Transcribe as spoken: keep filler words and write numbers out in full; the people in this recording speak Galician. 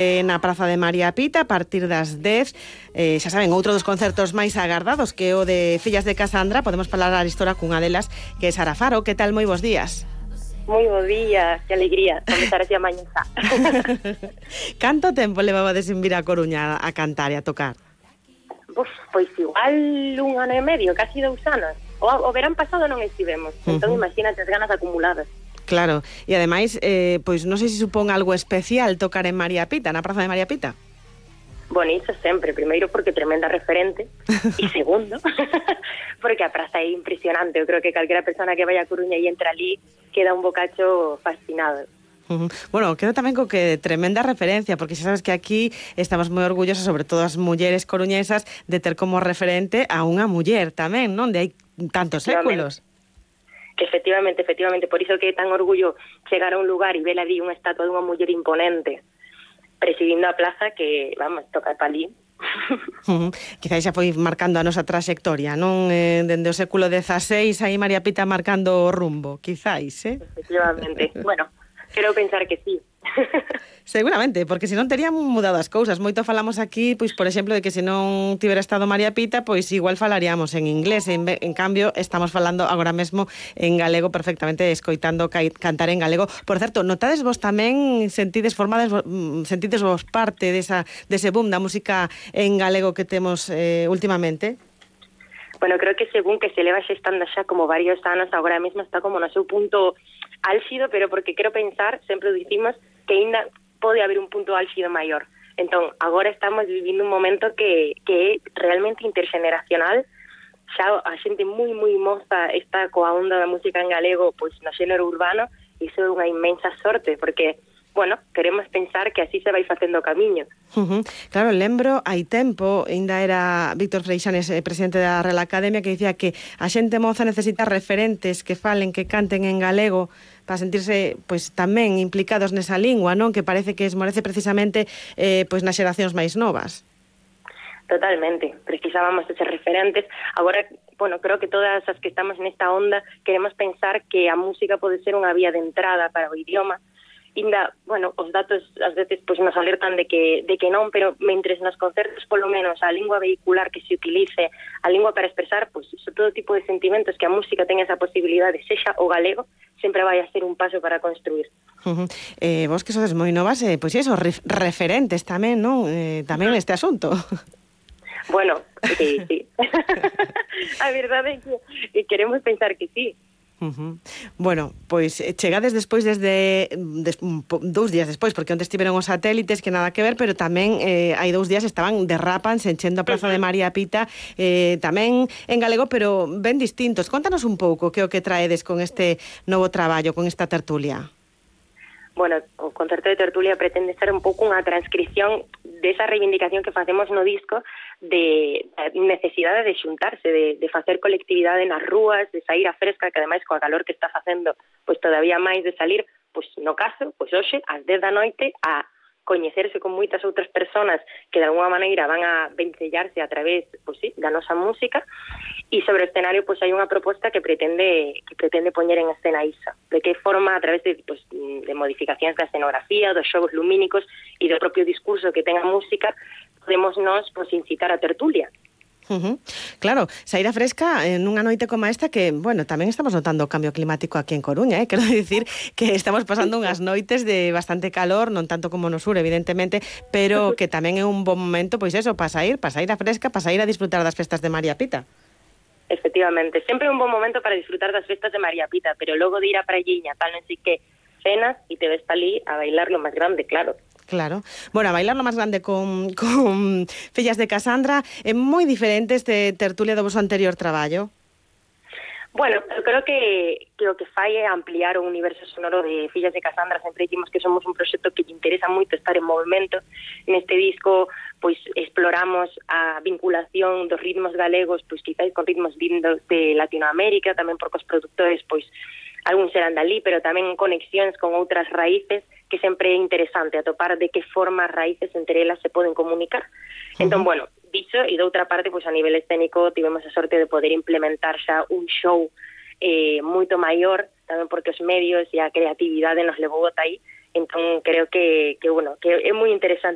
na Praza de María Pita a partir das dez. Eh, xa saben, outro dos concertos máis agardados que o de Fillas de Casandra. Podemos falar a história cunha delas, que é Sara Faro. Que tal? Moi bons días. Moi bo día, que alegría comenzar así a mañá. Canto tempo levabades en vir a Coruña a cantar e a tocar? Pois, pois igual un ano e medio, casi dous anos. O, o verán pasado non estivemos, uh-huh. Entón imagínate as ganas acumuladas. Claro, e ademais, eh, pois non sei se supón algo especial tocar en María Pita, na Praza de María Pita. Bueno, iso sempre, primeiro porque tremenda referente e segundo, porque a praza é impresionante. Eu creo que calquera persona que vaya a Coruña e entra ali queda un bocacho fascinado. Uh-huh. Bueno, quedo tamén co que tremenda referencia, porque xa sabes que aquí estamos moi orgullosas, sobre todo as mulleres coruñesas, de ter como referente a unha muller tamén, non? De hai tantos séculos. Efectivamente, efectivamente, por iso que é tan orgullo chegar a un lugar e ver ali unha estatua dunha muller imponente presidindo a plaza que, vamos, toca pa ali. Uh-huh. Quizás xa foi marcando a nosa trayectoria, non? Eh, dende o século dezaseis, aí María Pita marcando o rumbo, quizás, eh? Efectivamente, bueno, quero pensar que sí. Seguramente, porque se non terían mudado as cousas. Moito falamos aquí, pois, por exemplo, de que se non tivera estado María Pita, pois igual falaríamos en inglés. En, en cambio, estamos falando agora mesmo en galego perfectamente, escoitando ca- cantar en galego. Por certo, notades vos tamén, sentides formades, sentides vos parte desa, dese boom da música en galego que temos eh, últimamente? Bueno, creo que según que se leva xestando xa como varios anos, agora mesmo está como no seu punto álxido, pero porque quero pensar, sempre dicimos, que ainda pode haber un punto álxido maior. Entón, agora estamos vivindo un momento que, que é realmente intergeneracional. Xa a xente moi, moi moza está coa onda da música en galego, pois no xénero urbano, e iso é unha inmensa sorte, porque bueno, queremos pensar que así se vai facendo o camiño. Uh-huh. Claro, lembro, hai tempo, ainda era Víctor Freixanes, eh, presidente da Real Academia, que dicía que a xente moza necesita referentes que falen, que canten en galego para sentirse pois tamén implicados nesa lingua, non? Que parece que esmorece precisamente eh, pois nas xeracións máis novas. Totalmente, precisábamos eses referentes. Agora, bueno, creo que todas as que estamos nesta onda queremos pensar que a música pode ser unha vía de entrada para o idioma. Inda, bueno, os datos ás veces pois nos alertan de que de que non, pero mentres nos concertos polo menos a lingua vehicular que se utilice, a lingua para expresar, pois iso, todo tipo de sentimentos que a música ten esa posibilidade, sexa o galego, sempre vai a ser un paso para construir. Uh-huh. Eh, vos que sodes moi novas, eh, pois iso, re- referentes tamén, non? Eh, tamén neste asunto. Bueno, sí, sí. A verdade é que queremos pensar que sí. Uh-huh. Bueno, pois chegades despois desde des, dous días despois, porque onde estiveron os satélites, que nada que ver, pero tamén eh, hai dous días estaban derrapan enchendo a Praza uh-huh. de María Pita, eh, tamén en galego, pero ben distintos. Contanos un pouco que o que traedes con este novo traballo, con esta tertulia. Bueno, o concerto de tertulia pretende ser un pouco unha transcripción desa reivindicación que facemos no disco de necesidade de xuntarse, de, de facer colectividade nas rúas, de sair a fresca, que ademais coa calor que está facendo, pois todavía máis de salir, pois no caso, pois hoxe, ás dez da noite, a coñecerse con moitas outras persoas que de alguma maneira van a vencellarse a través, pois sí, da nosa música, e sobre o escenario pois hai unha proposta que pretende que pretende poñer en escena iso, de que forma a través de, pois, de modificacións da escenografía, dos xogos lumínicos e do propio discurso que ten a música, podemos nos pois incitar a tertulia. Uh-huh. Claro, saír a fresca en unha noite como esta que, bueno, tamén estamos notando o cambio climático aquí en Coruña, eh? Quero dicir que estamos pasando unhas noites de bastante calor, non tanto como no sur, evidentemente, pero que tamén é un bon momento, pois eso, para sair, para sair a fresca, para sair a disfrutar das festas de María Pita. Efectivamente, sempre é un bon momento para disfrutar das festas de María Pita, pero logo de ir a praiña, tal, non sei que, cenas e te ves pa ali a bailar lo máis grande, claro. Claro. Bueno, a bailar lo máis grande con, con Fillas de Casandra é moi diferente este tertulia do vosso anterior traballo. Bueno, eu creo que, que o que fai é ampliar o universo sonoro de Fillas de Casandra. Sempre dicimos que somos un proxecto que lle interesa moito estar en movimento. Neste disco, pois, exploramos a vinculación dos ritmos galegos, pois, quizás con ritmos vindos de Latinoamérica, tamén porque os produtores, pois, algúns serán dali, pero tamén conexións con outras raíces, que sempre é interesante atopar de que forma as raíces entre elas se poden comunicar. Uh-huh. Entón, bueno, dicho, e de outra parte, pois a nivel escénico tivemos a sorte de poder implementar xa un show eh, moito maior, tamén porque os medios e a creatividade nos levou ata aí, entón creo que, que bueno, que é moi interesante